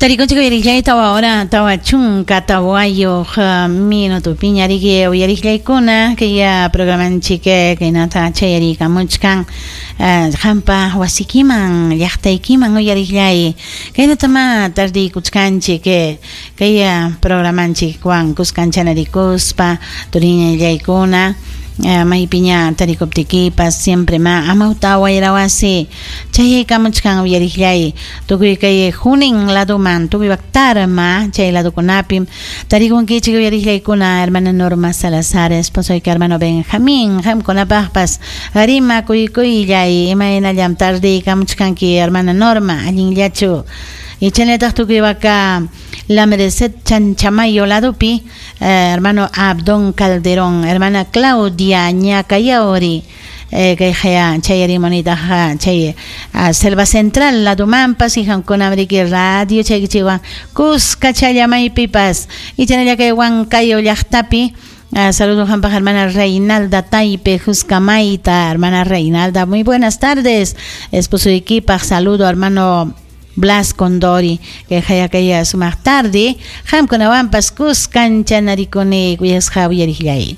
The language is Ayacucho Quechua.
Tarikunchik uyariqllay 4 hora 44 minutopiña riki uyariqllaykuna kay programanchik kaynata chayariykamuchkan qampa wasikiman llaqtaykiman uyariqllay kaynatama tardiykuchkanchik kay programanchikwan kuskanchanarikuspa turiñallaykuna maypiña tarikuptikipas siempre ma amawta wayrawasi chayaykamuchkan uyariqllay tukuy kay Junín laduman tukuy Tarma chay ladukunapim tarikunkichik uyariqllaykuna hermana Norma Salazar esposoyki hermano Benjamín qamkunapaqpas rimakuykuyllay imaynallam tardiykamuchkanki hermana Norma allinllachu y chaynallataq tukuy waka La Merced Chanchamayo ladupi hermano Abdón Calderón hermana Claudia Ñacayauri kay haya chayarimunitaq chay Selva Central ladumanpas y qamkuna riki radio chaykichikwan kuska maypipas y chaynalla kay Huancayo llaqtapi. Saludos qampaq hermana Reinalda Taipe Juscamaita, hermana Reinalda, muy buenas tardes. Esposo equipaq saludo hermano Blas Condori, que haya kay sumaq tarde, qamkunawanpas kuskanchanarikuni kuyasqa uyariqllay.